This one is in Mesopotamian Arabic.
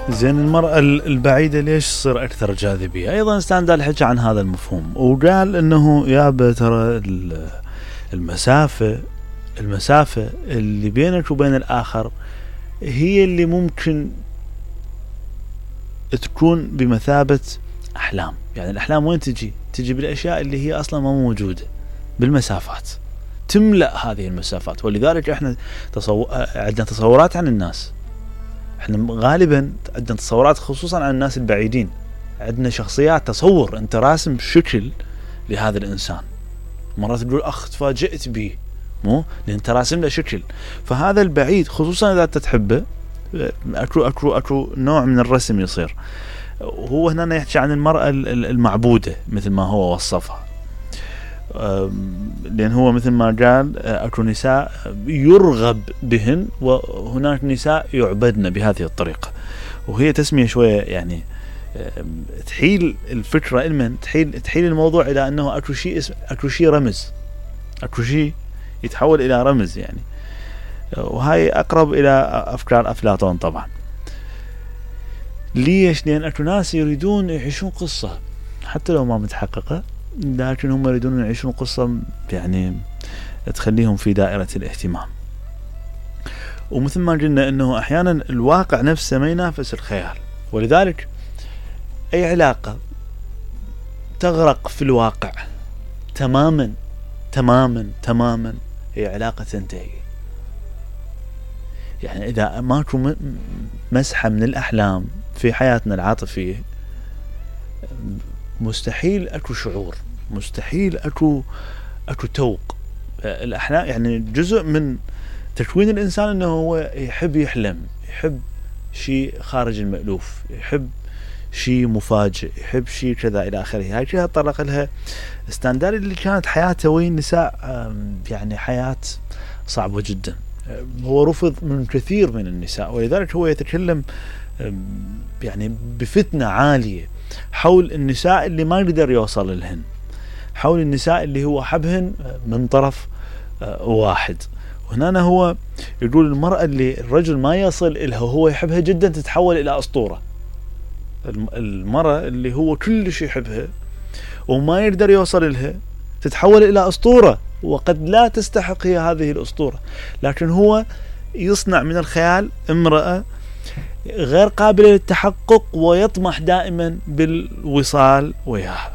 زين المرأة البعيدة ليش تصير أكثر جاذبية؟ أيضا ستاندال حكى عن هذا المفهوم وقال أنه يابا ترى المسافة اللي بينك وبين الآخر هي اللي ممكن تكون بمثابة أحلام. يعني الأحلام وين تجي بالأشياء اللي هي أصلا ما موجودة، بالمسافات، تملأ هذه المسافات. ولذلك احنا عندنا تصورات عن الناس، احنا غالبا عندنا تصورات خصوصا عن الناس البعيدين، عندنا شخصيات، تصور، انت راسم شكل لهذا الانسان، مرات تقول اخ تفاجئت به، مو لان انت راسم له شكل. فهذا البعيد خصوصا اذا انت تحبه اكو نوع من الرسم يصير. هو هنا يحكي عن المرأة المعبودة مثل ما هو وصفها، لأن هو مثل ما قال أكو نساء يرغب بهن وهناك نساء يعبدن بهذه الطريقة. وهي تسمية شوية يعني تحيل الفكرة إلمن تحيل الموضوع إلى أنه أكو شيء رمز، أكو شيء يتحول إلى رمز يعني. وهاي أقرب إلى أفكار أفلاطون طبعا. ليش؟ لأن أكو ناس يريدون يعيشون قصة حتى لو ما متحققة، لكن هم يريدون يعيشون قصة يعني تخليهم في دائرة الاهتمام. ومثل ما قلنا أنه أحيانا الواقع نفسه ما ينافس الخيال، ولذلك أي علاقة تغرق في الواقع تماما تماما تماما هي علاقة تنتهي. يعني إذا ماكو مسحة من الأحلام في حياتنا العاطفية مستحيل أكو شعور، مستحيل أكو توق. الأحلام يعني جزء من تكوين الإنسان أنه هو يحب يحلم، يحب شيء خارج المألوف، يحب شيء مفاجئ، يحب شيء كذا إلى آخره. هاي كذا طرق لها ستاندال اللي كانت حياته وين نساء يعني حياة صعبة جدا. هو رفض من كثير من النساء، ولذلك هو يتكلم يعني بفتنة عالية حول النساء اللي ما قدر يوصل لهن، حول النساء اللي هو حبهن من طرف واحد. وهنا هو يقول المرأة اللي الرجل ما يصل إلها هو يحبها جدا تتحول إلى أسطورة. المرأة اللي هو كل شيء يحبها وما يقدر يوصل إلها تتحول إلى أسطورة، وقد لا تستحق هي هذه الأسطورة، لكن هو يصنع من الخيال امرأة غير قابلة للتحقق ويطمح دائما بالوصال وياها.